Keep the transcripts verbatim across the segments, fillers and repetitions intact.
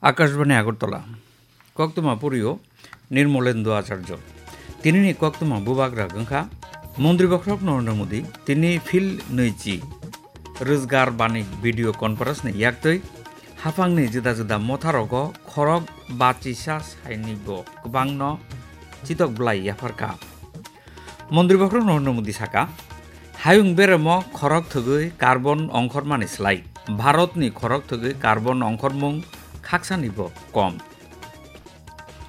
Akashbani Agartala. Koktwma purio Nirmolendu Acharjo. Tinini koktwma bubagra wngkha Montri Bokhorok Narendra Modi, tini Phil nwichi Rwzgar Banik video conference ni yaktwi haphangni juda juda motharogo khorok bachisa sainibo kwbangno chitok bwlai yapharkha. Montri Bokhorok Narendra Modi saka, hayung beremo khorok thwgwi carbon ongkhormani slai Bharatni khorok thwgwi carbon ongkhormung khaksanibo kom.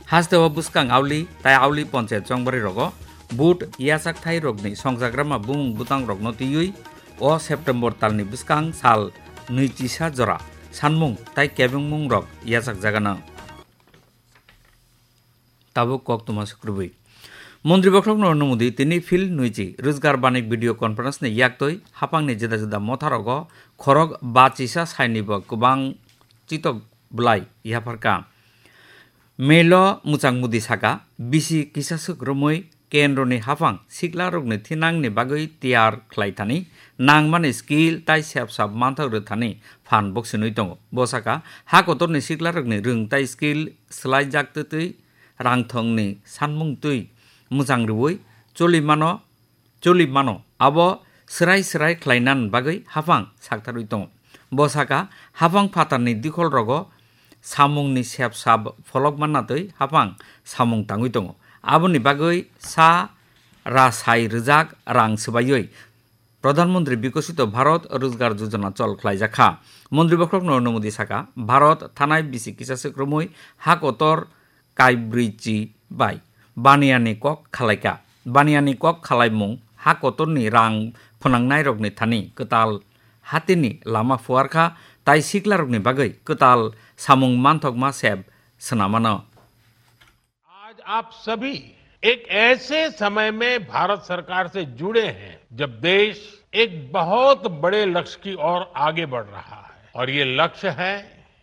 Hasteo bwskang auli tai auli ponchayat chongbarirokgo vote yachakthai rokni songchakrama bumung bwtangrokno twiwi o September talni bwskang sal nwichisa jora sanmung tai kebengmungrok yachakjagano. Tabuk koktwma se kwrwi. Montri Bokhorok Narendra Modi tini Phil nwichi Rwzgar Banik video conference ni yaktwi haphangni juda juda motharogo khorok bachisa sainibo kwbang chitok bwlai yapharkha. Mailo mwchang Modi saka, bisi kisaswk romwi kendroni haphang siklarokni thinangni bagwi tiyar khlai thani nangmani skill tai sep sap manthok rw thani phan boksinwi tongo. Bo saka, ha kotorni siklarokni rwng tai skill swlaijak twtwi rangthongni sanmung twi mwchang rwui choli mano, choli mano. Abo swrai swrai khlainan bagwi haphang saktharwi tongo. Bo saka, haphang phatarni dikholrogo samungni sep sap pholok manna twi haphang samung tangwi tongo. Aboni bagwi sa rasai rwjak rang swbaiwi Pradhan Mantri Bikasito Bharat Rojgar Yojana chol khlaijak kha. Montri Bokhorok Narendra Modi saka, Bharat thanai bisi kisaswk romwi ha kotor kaibrwichi bai baniyani kok khalaikha. Baniyani kok khalaimung ha kotorni rang phnangnairokni thani kwtal hatini lama phuarkha tai siklarokni bagwi kwtal samung manthokma sep swnamano. आज आप सभी एक ऐसे समय में भारत सरकार से जुड़े हैं, जब देश एक बहुत बड़े लक्ष्य की ओर आगे बढ़ रहा है, और ये लक्ष्य है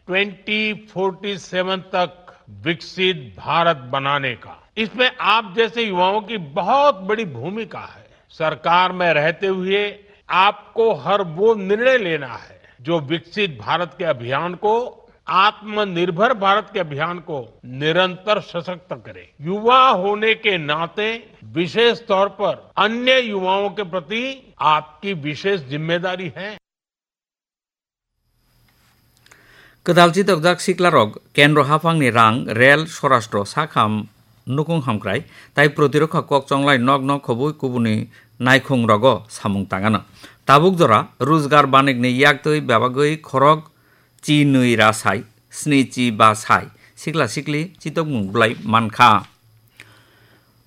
ट्वेंटी फ़ोर्टी सेवन तक विकसित भारत बनाने का। इसमें आप जैसे युवाओं की बहुत बड़ी भूमिका है। सरकार में रहते हुए आपको हर वो निर्णय लेना है, जो विकसित भारत के अभियान को, आत्मनिर्भर भारत के अभियान को निरंतर सशक्त करे। युवा होने के नाते विशेष तौर पर अन्य युवाओं के प्रति आपकी विशेष जिम्मेदारी है। Kwtal chitokjak siklarok kendro haphangni rang, rel, sorastro, sakham, nukung hamkrai tai protirokha kok chonglai nok nok khobwi kubuni naikhung rogo samung tangano. Tabuk jora Rojgar Banikni yaktwi bebagwi khorok chi nwi ra sai, sni chi ba sai, sikla sikli chitokmung bwlai mankha.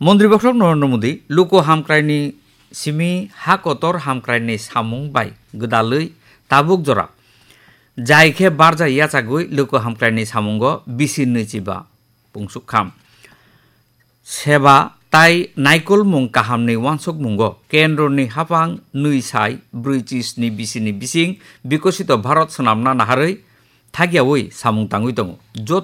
Montri Bokhorok Narendra Modi luku hamkraini simi ha kotor hamkraini samung bai gwdalwi tabuk jora jai khe barja yachagwi luku hamkraini samungo bisi nwi chiba pungsuk kham. Seba tai naikolmung kahamni uansukmungo kendroni haphang nwi sai brwi chi sni bisini bising Bikosito Bharat swnamna naharwi thakyawi samung tangwi tongo. Joto